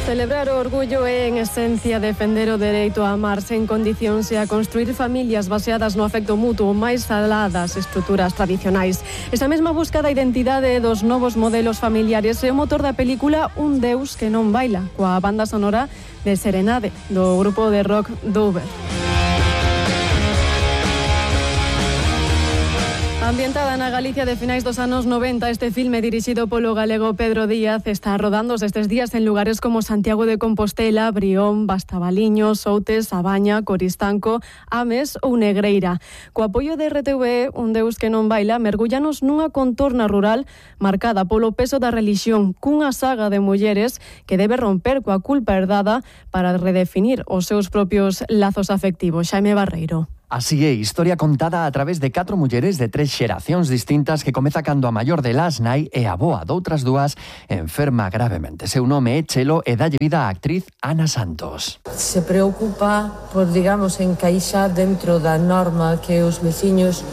Celebrar o orgullo é, en esencia, defender o dereito a amar sen condicións e a construir familias baseadas no afecto mutuo máis alá das estruturas tradicionais. Esa mesma busca da identidade dos novos modelos familiares é o motor da película Un Deus que non baila, coa banda sonora de Serenade, do grupo de rock Dover. Ambientada na Galicia de finais dos anos 90, este filme dirixido polo galego Pedro Díaz está rodándose estes días en lugares como Santiago de Compostela, Brión, Bastabaliños, Outes, Abaña, Coristanco, Ames ou Negreira. Co apoio de RTV, Un Deus que non baila, mergullanos nunha contorna rural marcada polo peso da relixión, cunha saga de mulleres que debe romper coa culpa herdada para redefinir os seus propios lazos afectivos. Xaime Barreiro. Así é, historia contada a través de 4 mulleres de 3 xeracións distintas que comeza cando a maior delas nai e a boa doutras dúas enferma gravemente. Seu nome é Chelo e dalle vida á actriz Ana Santos. Se preocupa por, digamos, encaixar dentro da norma que os veciños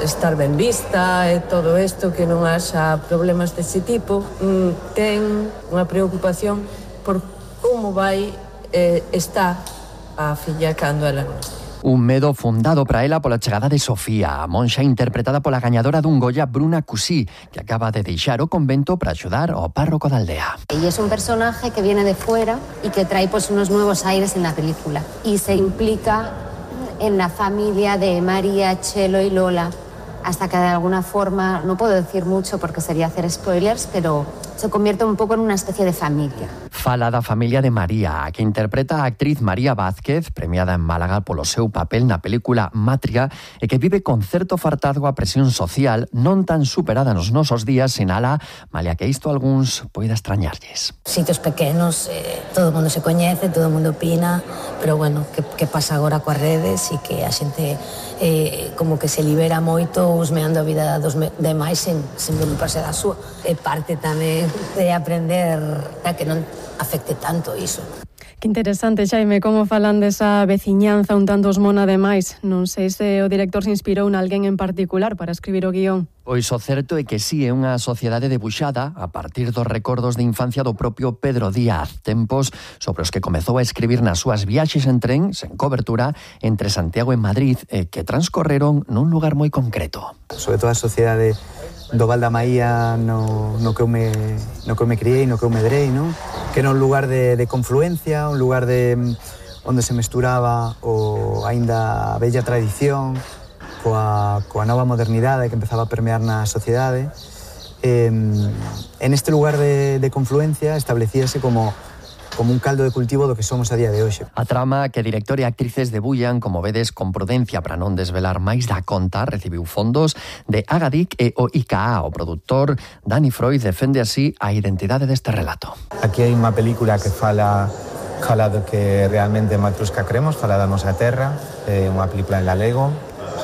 estar ben vista e todo isto, que non haxa problemas dese tipo. Ten unha preocupación por como vai estar a filla cando ela non está. Un medo fundado para ela pola chegada de Sofía, a monxa interpretada pola gañadora dun Goya, Bruna Cusí, que acaba de deixar o convento para axudar ao párroco da aldea. Y es un personaje que viene de fuera y que trae pues unos nuevos aires en la película. Y se implica en la familia de María, Chelo y Lola, hasta que de alguna forma, no puedo decir mucho porque sería hacer spoilers, pero se convierte un poco en una especie de familia. Fala da familia de María, a que interpreta a actriz María Vázquez, premiada en Málaga polo seu papel na película Matria, e que vive con certo fartazgo a presión social non tan superada nos nosos días, sinala, malia que isto algúns poida extrañarlles. Sitios pequenos, todo o mundo se coñece, todo o mundo opina, pero bueno, que pasa agora coas redes e que a xente como que se libera moito husmeando a vida dos demais sen preocuparse da súa. É parte tamén de aprender a que non afecte tanto iso. Que interesante, Xaime, como falan desa veciñanza un tanto osmona demais. Non sei se o director se inspirou en alguén en particular para escribir o guión. Pois o certo é que sí, é unha sociedade debuxada a partir dos recordos de infancia do propio Pedro Díaz, tempos sobre os que comezou a escribir nas súas viaxes en tren, sen cobertura, entre Santiago e Madrid, que transcorreron nun lugar moi concreto. Sobre todo a sociedade do Val da Maía no que eu me criei, no que eu medrei, no? Que era un lugar de confluencia, un lugar onde se mesturaba o aínda a bella tradición coa nova modernidade que empezaba a permear na sociedade. En este lugar de confluencia establecíase como un caldo de cultivo do que somos a día de hoxe. A trama que director e actrices debullan, como vedes, con prudencia para non desvelar máis da conta, recibiu fondos de Agadic e o ICA. O produtor Dani Freud defende así a identidade deste relato. Aquí hai unha película que fala do que realmente en Matrusca cremos, fala da nosa terra, unha película en galego,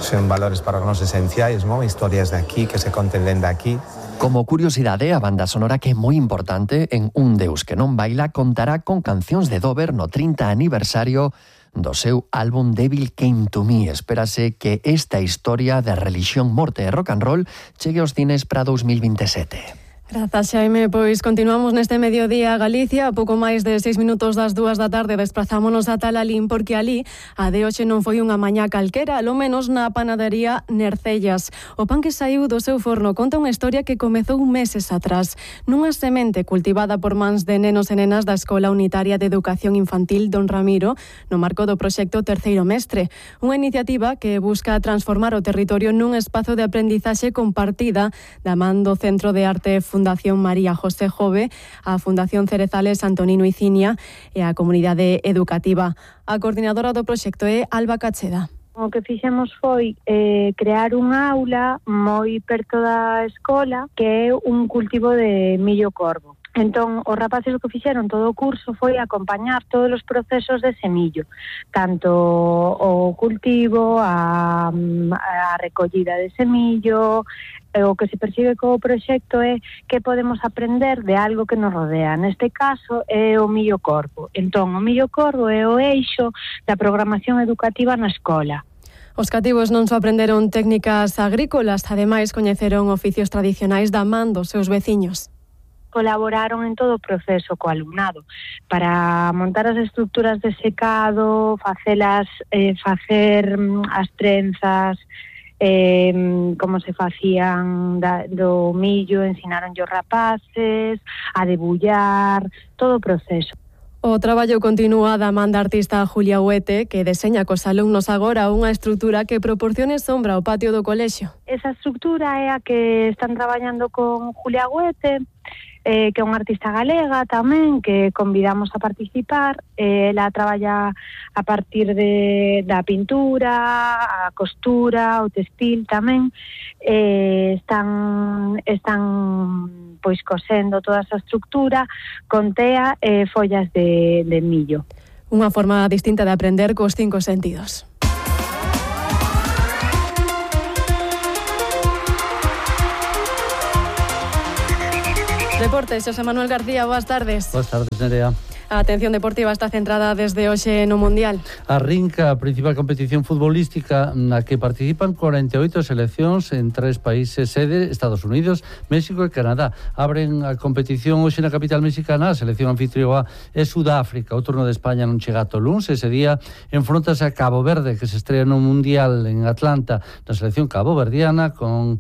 son valores para nós esenciais, historias de aquí que se conten dende aquí. Como curiosidade, a banda sonora que é moi importante en Un Deus que non baila contará con cancións de Dover no 30 aniversario do seu álbum Devil Came to Me. Espérase que esta historia de religión, morte e rock and roll chegue aos cines para 2027. Grazas, Xaime. Pois continuamos neste mediodía a Galicia. A pouco máis de 6 minutos das 2 da tarde desprazámonos a Talalín, porque ali a de hoxe non foi unha mañá calquera, alo menos na panadería Nercellas. O pan que saiu do seu forno conta unha historia que comezou meses atrás, nunha semente cultivada por mans de nenos e nenas da Escola Unitaria de Educación Infantil Don Ramiro, no marco do proxecto Terceiro Mestre, unha iniciativa que busca transformar o territorio nun espazo de aprendizaxe compartida da man do Centro de Arte Fundación María José Jove, a Fundación Cerezales Antonino Icinia e a comunidade educativa. A coordinadora do proxecto é Alba Cacheda. O que fixemos foi crear unha aula moi perto da escola que é un cultivo de millo corvo. Entón, os rapaces o que fixeron todo o curso foi acompañar todos os procesos de semillo, tanto o cultivo, a recollida de semillo. O que se persigue co proxecto é que podemos aprender de algo que nos rodea. Neste caso é o millo corvo. Entón, o millo corvo é o eixo da programación educativa na escola. Os cativos non só aprenderon técnicas agrícolas, ademais coñeceron oficios tradicionais da man dos seus veciños. colaboraron en todo o proceso co alumnado para montar as estructuras de secado, facer as trenzas, como se facían do millo, ensinaronlle os rapaces a debullar, todo o proceso. O traballo continúa da man da artista Julia Huete, que deseña cos alumnos agora unha estrutura que proporcione sombra ao patio do colexio. Esa estrutura é a que están traballando con Julia Huete, que é unha artista galega tamén, que convidamos a participar. Ela traballa a partir da pintura, a costura, o textil tamén. Están pois cosendo toda esa estructura con tea e follas de millo. Unha forma distinta de aprender cos 5 sentidos. Deportes, José Manuel García, boas tardes. Boas tardes, Nerea. A atención deportiva está centrada desde hoxe no Mundial. Arrinca a principal competición futbolística na que participan 48 seleccións en 3 países sede, Estados Unidos, México e Canadá. Abren a competición hoxe na capital mexicana, a selección anfitrioa é Sudáfrica. O turno de España non chega ata o luns, ese día enfrontase a Cabo Verde, que se estrea no Mundial en Atlanta, na selección caboverdiana, con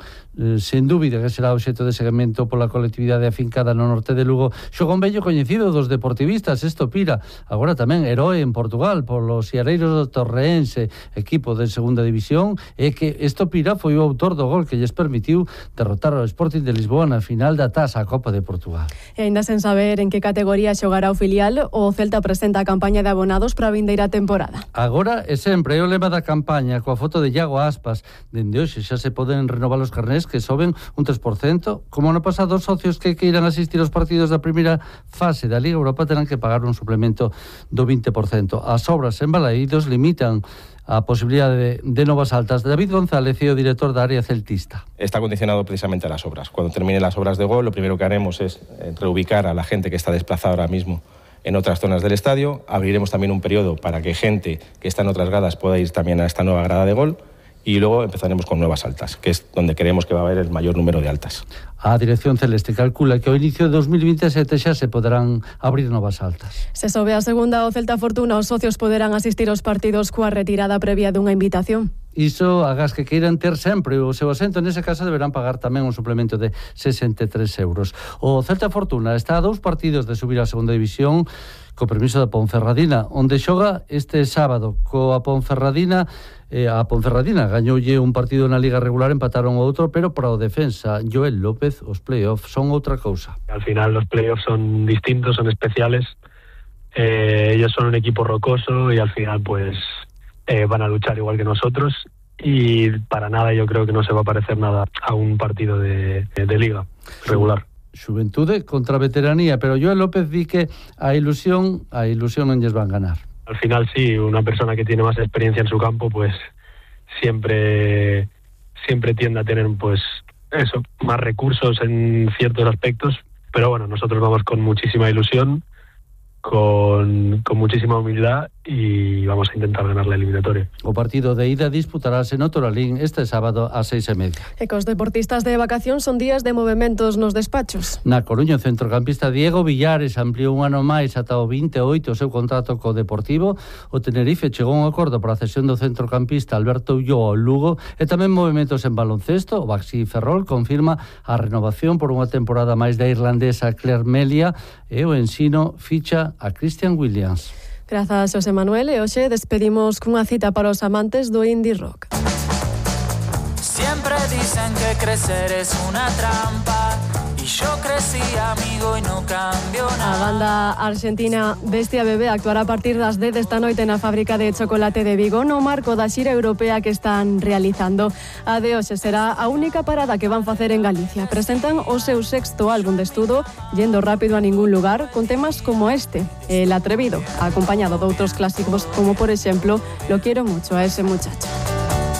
sen dúbida que será obxecto de seguimento pola colectividade afincada no norte de Lugo. Xogón vello coñecido dos deportivistas, Estopira, agora tamén heroe en Portugal polos Siareiros do Torreense, equipo de segunda división, e que Estopira foi o autor do gol que lles permitiu derrotar ao Sporting de Lisboa na final da Taça a Copa de Portugal. E ainda sen saber en que categoría xogará o filial, o Celta presenta a campaña de abonados para a vindeira temporada. Agora e sempre é o lema da campaña, coa foto de Iago Aspas. Dende hoxe xa se poden renovar os carnés que soben un 3%. Como no pasado, os socios que queiran asistir aos partidos da primeira fase da Liga Europa terán que pagar un suplemento do 20%. As obras en Balaídos limitan a posibilidade de novas altas. David González é o director da área celtista. Está condicionado precisamente a las obras. Cuando terminen las obras de gol, lo primero que haremos es reubicar a la gente que está desplazada ahora mismo en otras zonas del estadio. Abriremos también un periodo para que gente que está en otras gradas pueda ir también a esta nueva grada de gol. Y luego empezaremos con nuevas altas, que es donde creemos que va a haber el mayor número de altas. A Dirección Celeste calcula que ao inicio de 2027 xa se poderán abrir novas altas. Se sobe a segunda o Celta Fortuna, os socios poderán asistir aos partidos coa retirada previa dunha invitación. Iso, agás que queiran ter sempre o seu asento, nese caso deberán pagar tamén un suplemento de 63 euros. O Celta Fortuna está a 2 partidos de subir a segunda división, co permiso da Ponferradina, onde xoga este sábado coa Ponferradina. A Ponferradina gañoulle un partido na Liga regular, empataron o outro, pero para o defensa Joel López os playoffs son outra cousa. Al final los playoffs son distintos, son especiales. Ellos son un equipo rocoso y al final pues van a luchar igual que nosotros, y para nada yo creo que no se va a parecer nada a un partido de Liga regular. Xuventude contra veteranía, pero Joel López di que a ilusión non lles van ganar. Al final sí, una persona que tiene más experiencia en su campo pues siempre tiende a tener pues eso, más recursos en ciertos aspectos, pero bueno, nosotros vamos con muchísima ilusión, con muchísima humildad, y vamos a intentar ganar la eliminatoria. O partido de ida disputarase no Toralín este sábado a 6:30. E cos deportistas de vacación son días de movementos nos despachos. Na Coruña, o centrocampista Diego Villares ampliou un ano máis ata o 28 o seu contrato co Deportivo. O Tenerife chegou a un acordo para a cesión do centrocampista Alberto Ulloa ao Lugo, e tamén movementos en baloncesto. O Baxi Ferrol confirma a renovación por unha temporada máis da irlandesa Claire Melia, e o Ensino ficha a Christian Williams. Grazas, José Manuel, e hoxe despedimos cunha cita para os amantes do indie rock. Siempre dicen que crecer es una trampa, y yo crecí amigo y no cambio nada. A banda argentina Bestia Bebé actuará a partir das 10 desta noite na fábrica de chocolate de Vigo, no marco da xira europea que están realizando. A de hoxe será a única parada que van facer en Galicia. Presentan o seu sexto álbum de estudo, Yendo rápido a ningún lugar, con temas como este, El atrevido, acompañado de outros clásicos como por exemplo Lo quiero mucho a ese muchacho.